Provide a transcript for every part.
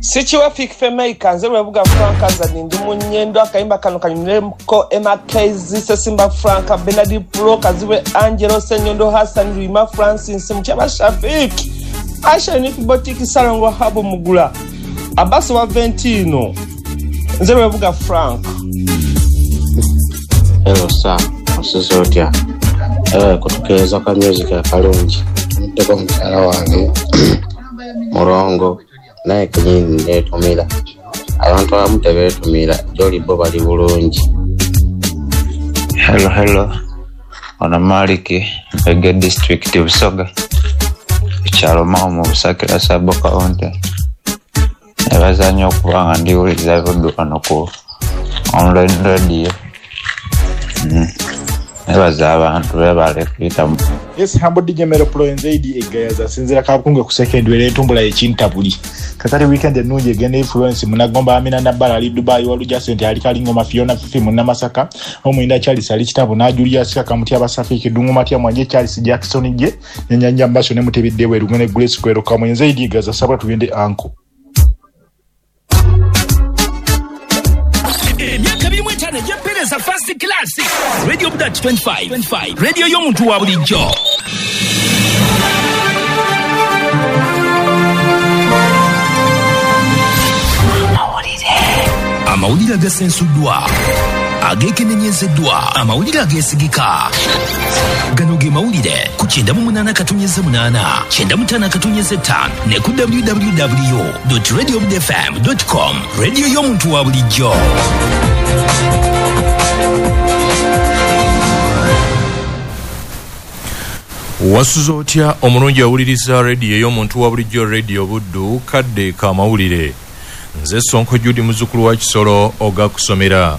Sikiwa Fik Fameica, nze Lwebuga Frank Azadi, ndi mu Nyendo. Akayimba kano kanyumireko Emma Kezi, Sesimba Frank, Bernard Pro, Kazibwe Angelo, Senyondo Hassan, Rima Francis, Mukyaba Shafik, Asha Unique Boutique, Salongo Habu Mugula, Abbas wa Ventino, nze Lwebuga Frank. Hello sir, osuze otya? Kutukeeza ka music akalungi. Ntuddeko mukyala wange Mulongo, naye kenyini neetumira. Abantu abamu tebeetumira, gy'oli bo bali bulungi. Hello, hello. Ono Maliki, Mpege District, Busoga. Ekyalo Mao mu Busakira Sub County. Nebaza nnyo okuba nga ndiwuliriza Buddu wano ku online radio. Nebaza abantu beebale kuyitamu. Yes, humble DJ Mero Pro nze Egayaza sinzira kabukunge ku second were entumbula ekintabuli. Kakati weekend ennungi egenda influence munagomba Amina Nabbala ali Dubai, Waluja Sente ali Kalingoma, Fiona Fifi Munnamasaka, Omuyinda Charles ali Kitabu na Julius Kamuti Abasafiki Dungu Matia Mwanje Charles Jackson je Nyanja Mbasho ne Mutebidde Weru ne Grace Kwero Kamwe nze Egayaza sabula tugende anko. Emyaka 25 egy'empeereza first class Radio Budat 25 radio y'omuntu wa bulijjo. Amawulire agasensuddwa, ageekenenyezeddwa, amawulire ageesigika. Gano ge mawulire ku 98.8, 95.5 ne ku www.radiobudfm.com. Radio y'omuntu wa bulijjo. Wasuze otya omulungi awuliriza rediyo ey'omuntu wa bulijjo, Radio Buddu, kadde k'amawulire. Nze Sonko Judy muzzukulu wa Kisolo ogakusomera.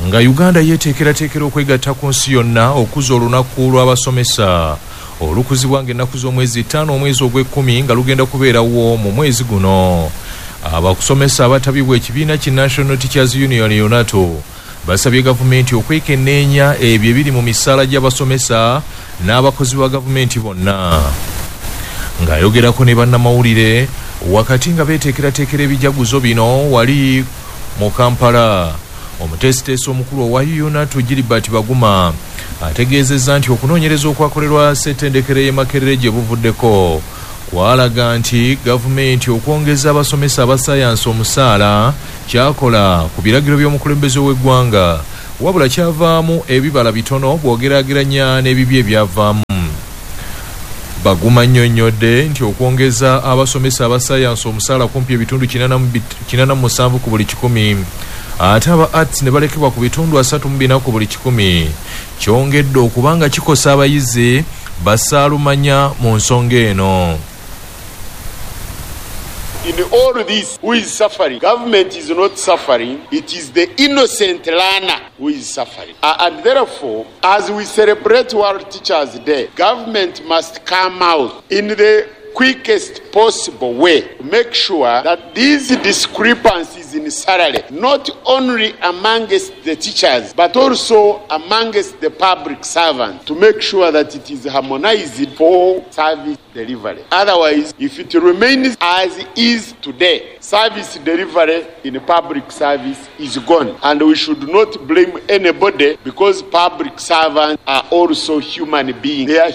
Nga Uganda yeeteekerateekera okwegatta ku nsi yonna okuza olunaku lw'abasomesa olukuzibwa ng'ennaku z'omwezi 5 omwezi ogw'ekkumi nga lugenda kubeerawo mu mwezi guno. Abakusomesa abatabibwa ekibiina ki National Teachers Union UNATU basabye gavumenti okwekenneenya ebyo ebiri mu misaala gy'abasomesa n'abakozi ba gavumenti bonna. Ng'ayogerako ne bannamawulire wakati nga beeteekerateekera ebijaguzo bino wali mu Kampala, omuteesiteesi omukulu owa UNATU Gilbert Baguma ategeezezza nti okunoonyereza okwakolerwa ssettendekero y'e Makerere gye buvuddeko kwalaga nti gavumenti okwongeza abasomesa aba ssaayansi omusaala kyakola ku biragiro by'omukulembeze w'eggwanga, wabula kyavaamu ebibala bitono bw'ogeraageranya n'ebibi ebyavaamu. Baguma nnyonnyodde nti okwongeza abasomesa aba ssaayansi omusaala kumpi ebitundu 87 ku buli kikumi, ate aba arts ne balekebwa ku bitundu 34 ku buli kikumi, kyongedde okubanga kikosa abayizi basaalumanya mu nsonga eno. In all this, who is suffering? Government is not suffering. It is the innocent learner who is suffering. And therefore, as we celebrate World Teachers Day, government must come out in the quickest possible way to make sure that these discrepancies in salary, not only amongst the teachers, but also amongst the public servants, to make sure that it is harmonized for service delivery. Otherwise, if it remains as is today, service delivery in public service is gone. And we should not blame anybody, because public servants are also human beings. They are.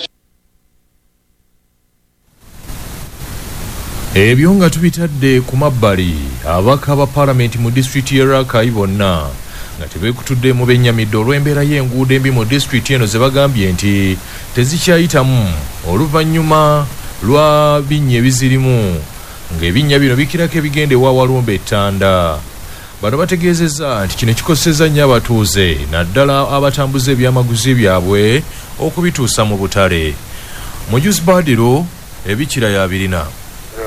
Ebyo nga tubitadde ku mabbali, ababaka ba paalamenti mu disitulikiti y'e Rakai bonna nga tebeekutudde mu bennyamidde olw'embeera y'enguudo embi mu disitulikiti eno ze bagambye nti tezikyayitamu oluvannyuma lwa binnya ebizirimu, ng'ebinnya bino bikirako ebigenda ewa Walumbe Ettanda. Bano bategeezezza nti kino kikosezza nnyo abatuuze naddala abatambuza ebyamaguzi byabwe okubituusa mu butale. Mujuzi Badiro ebikira yabirina.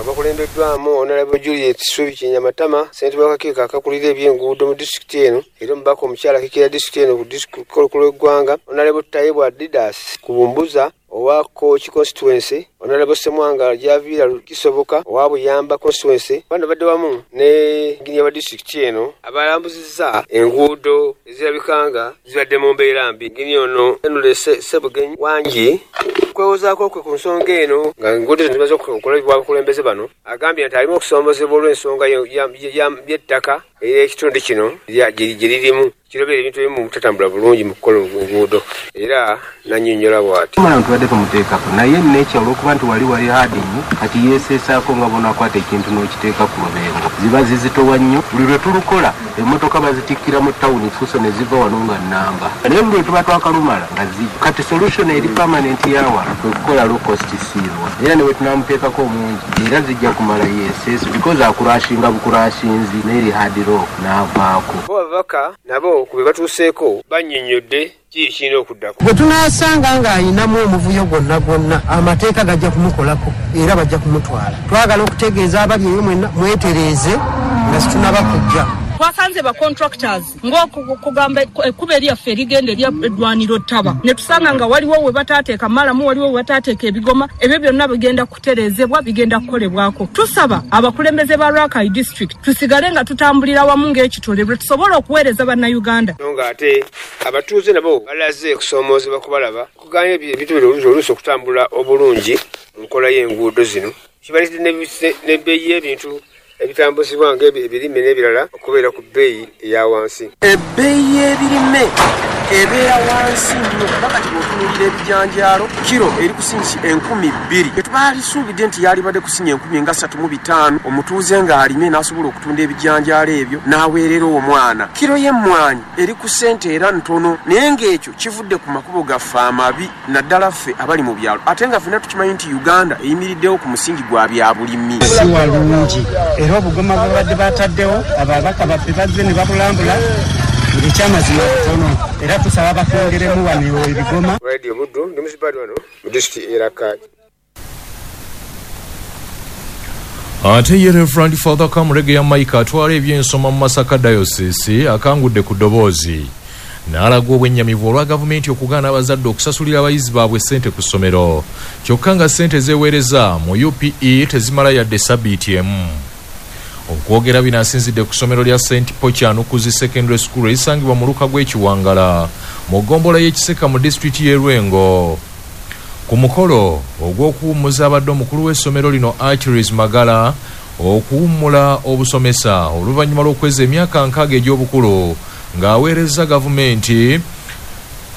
Bakulembeddwamu Honorable Juliet Subi Kinyamatama, ssentebe w'akakiiko akakulira ebyenguudo mu disitulikiti eno, era omubaka omukyala akiikirira disitulikiti eno ku disitulikiti olw'eggwanga, Honorable Tayebwa Didas Kubumbuza owa Kooki constituency, Honorable Ssemwanga Javiira Kisoboka owa Buyamba constituency. Bano badde wamu ne engineer wa disitulikiti eno abalambuzizza enguudo ezirabika nga zibadde mu mbeera mbi. Engineer ono Henry Ssebugenyi Wangi okwewozaako kwe ku nsonga eno nga enguudo zino zimaze okukolebwa abakulembeze bano, agambye nti alimu okusoomozebwa olw'ensonga y'ettaka ery'ekitundu kino gye lirimu kirobera ebintu ebimu butatambula bulungi mu kukola enguudo, era nannyonnyola bw'ati. Omwana tubadde tumuteekako naye nature olw'okuba nti wali hard nnyo, kati yeeseesaako nga bw'onaakwata ekintu n'okiteeka ku lubengo, ziba zizitowa nnyo. Buli lwe tulukola emmotoka bazitikkira mu tawuni fuso ne ziva wano nga nnamba, naye buli lwe tuba twakalumala nga zijja. Kati solution eri permanent yawala kwe kukola low cost siirwa, era ne bwe tunaamuteekako omungi era zijja kumala yeeseese because akurashinga bukurashinzi n'eri hard rock n'avaako. Bo ababaka nabo ku bye batuuseeko bannyonnyodde kiki kirina okuddako. Bwe tunaasanga ng'ayinamu omuvuyo gwonna gwonna, amateeka gajja kumukolako era bajja kumutwala. Twagala okutegeeza abali eyo mwenna mwetereeze nga situnaba kujja. Twasanze ba contractors ng'okugamba ekkubo eryaffe erigenda eddwaniro ttaba, ne tusanga nga waliwo we bataateeka malamu, waliwo we bataateeka ebigoma. Ebyo byonna bigenda kutereezebwa, bigenda kukolebwako. Tusaba abakulembeze ba Rakai district tusigale nga tutambulira wamu ng'ekitole lwe tusobola okuweereza bannayuganda. So ng'ate abatuuze nabo balaze okusoomoozebwa kubalaba okugaanya ebintu bino oluusi okutambula obulungi mu nkola y'enguudo zino, kibaleetedde n'ebbeeyi y'ebintu ebitambuzibwa ng'ebirime n'ebirala okubeera ku bbeeyi eya wansi. Ebbeeyi y'ebirime ebeera wansi nnyo, kuba kati bw'otunuulira ebijanjaalo kiro eri kusinyisa 2,000. Tetwaalisuubidde nti yalibadde kusinya 3,500, omutuuze ng'alimye n'asobola okutunda ebijanjaalo ebyo n'aweerera omwana. Kiro y'emmwanyi eri ku ssente era ntono, naye ng'ekyo kivudde ku makubo gaffe amabi, naddala ffe abali mu byalo, ate nga ffenna tukimanyi nti Uganda eyimiriddewo ku musingi gwa bya bulimi. Si walungi era obugoma bwabadde bataddewo ababaka baffe bazze ne babulambula ng'ekyamazima butono, era tusaba batwongeremu wano ebigoma. Radio Buddu, ndi muzibaadi wano mu disitulikiti y'e Rakai. Ate ye Reverend Father Kamulegeya Mike atwala ebyensoma mu Masaka Diocese akangudde ku ddoboozi n'alaga obwennyamivu olwa gavumenti okugaana abazadde okusasulira abayizi baabwe ssente ku ssomero, kyokka nga ssente zeeweereza mu UPE tezimala yadde sabbiiti emu. Okwogera bino asinzidde ku ssomero lya St Paul Kyanukuzi Secondary School erisangibwa mu luka gw'Ekiwangala mu ggombolola y'Ekiseka mu disitulikiti y'e Lwengo. Ku mukolo ogw'okuwummuza abadde omukulu w'essomero lino Achilles Magala okuwummula obusomesa oluvannyuma lw'okweza emyaka 60 egy'obukulu ng'aweereza gavumenti,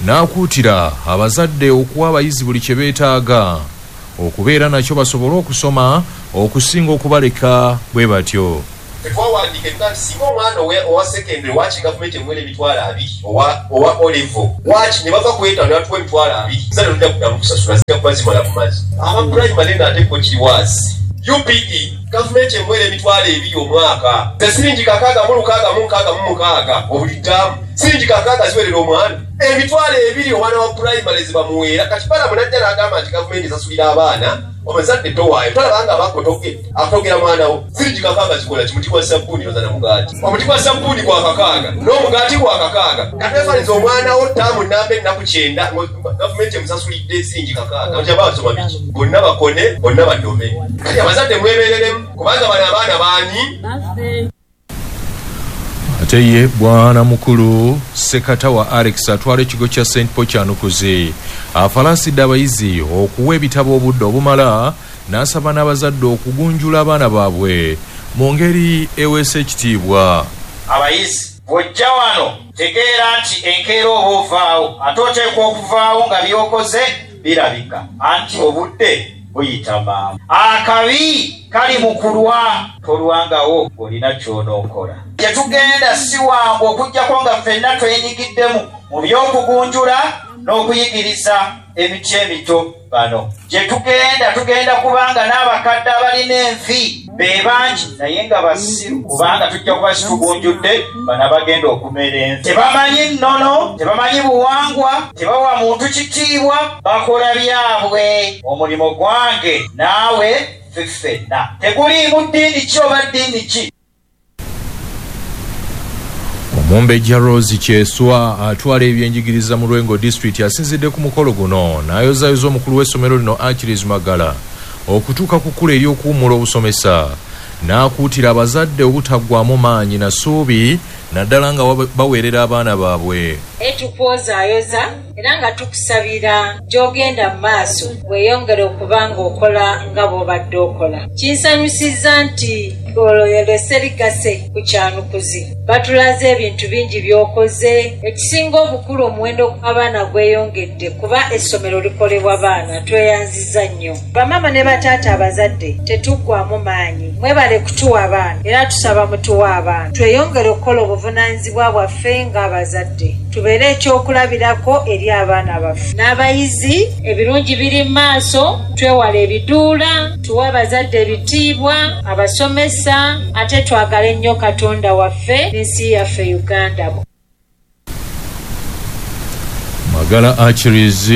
n'akuutira abazadde okuwa abayizi buli kye beetaaga okubeera nakyo basobole okusoma okusinga okubaleka bwe batyo. Tetwawandiika ebiga nti singa omwana owa secondary waaki gavumenti emuwera 20,000 owa O-level waaki ne bava ku 5 ne batuwa 20,000, zano tujja kuddamu kusasula, zijja kuba zimala ku mazzi. Aba primary ng'ate ko kiri waasi. UPE gavumenti emuwera 20,000 omwaka, ze siringi 6,666 obuli ttaamu, siringi 6 ziwerera omwana 20,000 omwana wa primary zibamuweera. Kati balamu najja n'agamba nti gavumenti esasulira abaana, omuzadde towaayo tolaba nga abakotoge akutogera mwana wo. Siringi 6 zikola ki? Muti gwa sabbuuni oza na mugaati, omuti gwa sabbuuni gwa 6 n'omugaati gwa 6. Katwefaniza omwana wo ttaamu namba ennaku 9 gavumenti emusasulidde siringi 6, nti abaasoma biki? Bonna bakone, bonna badome. Kati abazadde mwebereremu kubanga bano abaana baani? Ate ye bwana mukulu Ssekatawa Alex atwala ekigo kya St Paul Kyanukuzi afalaasidde abayizi okuwa ebitabo obudde obumala, n'asaba n'abazadde okugunjula abaana baabwe mu ngeri eweesa ekitiibwa. Abayizi bw'ojja wano tegeera nti enkeera oba ovaawo, ate oteekwa okuvaawo nga by'okoze birabika, anti obudde buyita mangu. Akabi kali mu kulwa, tolwangawo ng'olina ky'onookola. Gye tugenda si wangu okuggyako nga ffenna twenyigidde mu by'okugunjula n'okuyigiriza emiti emito bano. Gye tugenda tugenda kubanga n'abakadde abalina envi be bangi naye nga basiru, kubanga tujja kuba situgunjudde bano abagenda okumera envi. Tebamanyi nnono, tebamanyi buwangwa, tebawa muntu kitiibwa, bakola byabwe. Omulimu gwange naawe ffe ffenna teguliimu ddiini ki oba ddiini ki. Omumbejja Rose Kyeswa atwala ebyenjigiriza mu Lwengo district asinzidde ku mukolo guno n'ayozaayoza omukulu w'essomero lino Achilles Magala okutuuka ku kkula ery'okuwummula obusomesa. N'akuutira abazadde obutaggwamu maanyi na ssuubi naddala nga baweerera abaana baabwe. Tukwozaayoza era nga tukusabira gy'ogenda mu maaso weeyongere okuba ng'okola nga bw'obadde okola. Kinsanyusizza nti olwo serigase ku Kyanukuzi batulaze ebintu bingi by'okoze. Ekisinga obukulu, omuwendo gw'abaana gweyongedde kuba essomero likolebwa baana. Tweyanziza nnyo bamaama ne bataata abazadde, tetuggwamu maanyi. Mwebale kutuwa abaana era tusaba mutuwe abaana, tweyongere okukola obuvunaanyizibwa bwaffe ng'abazadde, tubeere ekyokulabirako eri abaana baffe n'abayizi. Ebirungi biri mu maaso, twewale ebiduula, tuwe abazadde ebitiibwa, abasomesa, ate twagale nnyo Katonda waffe n'ensi yaffe Uganda. Magala Achilles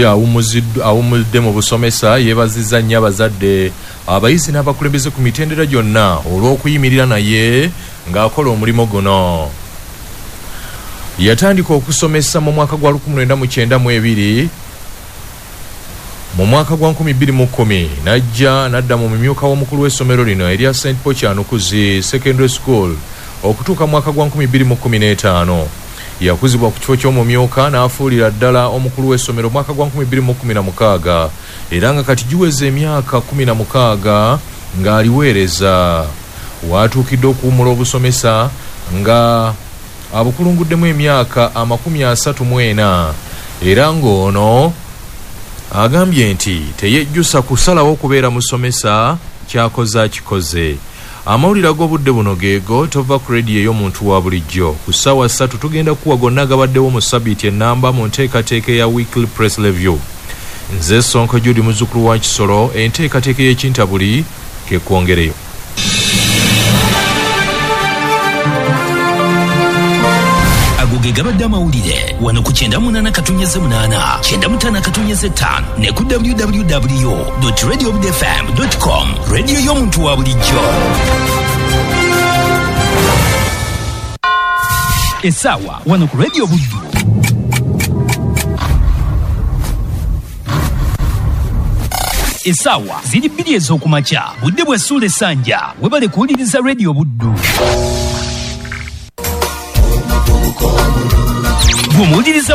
awummudde mu busomesa yeebazizza nnyo abazadde, abayizi n'abakulembeze ku mitendera gyonna olw'okuyimirira naye ng'akola omulimu guno. Yatandika okusomesa mu mwaka gwa 1992. Mu mwaka gwa 2010 najja n'adda mu mumyuka w'omukulu w'essomero lino erya St Paul Kyanukuzi Secondary School okutuuka mu mwaka gwa 2015. Yakuzibwa ku kifo ky'omumyuka n'afuulira ddala omukulu w'essomero mwaka gwa 2016, era nga kati giweza emyaka 16 ng'aliweereza. Waatuukidde okuwummula obusomesa nga abukulunguddemu emyaka 34, era ng'ono agambye nti teyejjusa kusalawo okubeera musomesa, kyakoze akikoze. Amawulire ag'obudde buno geego. Tova ku rediyo ey'omuntu wa bulijjo. Ku ssaawa 3 tugenda kuwa gonna gabaddewo mu sabiiti ennamba mu nteekateeka eya Weekly Press Review. Nze Sonko Judy, muzzukulu wa Kisolo. Enteekateeka ey'ekintabuli kekwongereyo. Ago ge gabadde amawulire wano ku 98.8, 95.5 ne ku www.radiobudfm.com, rediyo y'omuntu wa bulijjo. Essaawa wano ku Radio Buddu essaawa ziri 2 ez'okumakya, budde bwa ssuula essanja. Webale kuwuliriza Radio Buddu. Gwe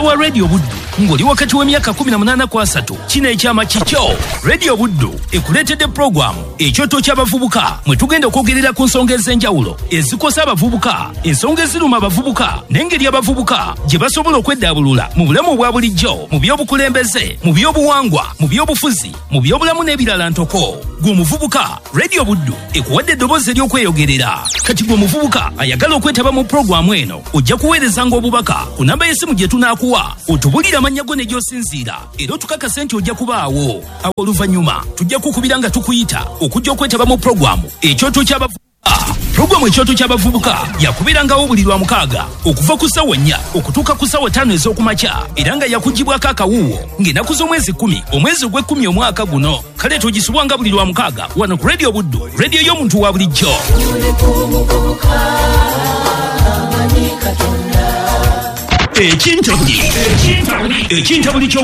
wa Radio Buddu ng'oli wakati w'emyaka 18 ku 30, kino ekyama kikyo. Radio Buddu ekuleetedde pulogulaamu Ekyoto ky'Abavubuka, mwe tugenda okwogerera ku nsonga ez'enjawulo ezikosa abavubuka, ensonga eziruma abavubuka n'engeri abavubuka gye basobola okweddaabulula mu bulamu obwa bulijjo, mu by'obukulembeze, mu by'obuwangwa, mu by'obufuzi, mu by'obulamu n'ebirala ntoko. Gwe omuvubuka, Radio Buddu ekuwadde eddoboozi ery'okweyogerera. Kati gwe omuvubuka ayagala okwetaba mu pulogulaamu eno, ojja kuweerezanga obubaka ku namba y'essimu gye tunaakuwa, otubulire amannya go ne gy'osinziira, era otukakase nti ojja kubaawo. Awo oluvannyuma tujja kukubira nga tukuyita okujja okwetaba mu pulogulaamu Ekyoto ky'Abavubuka. Pulogulaamu Ekyoto ky'Abavubuka yakubeerangawo buli lwa mukaaga okuva ku ssaawa 4 okutuuka ku ssaawa 5 ez'okumakya, era nga yakugibwako akawuwo ng'ennaku z'omwezi 10 omwezi ogw'ekkumi omwaka guno. Kale togisubwanga buli lwa mukaaga wano ku Radio Buddu, rediyo y'omuntu wa bulijjo. Ekintabuli, ekintabuli ky'obu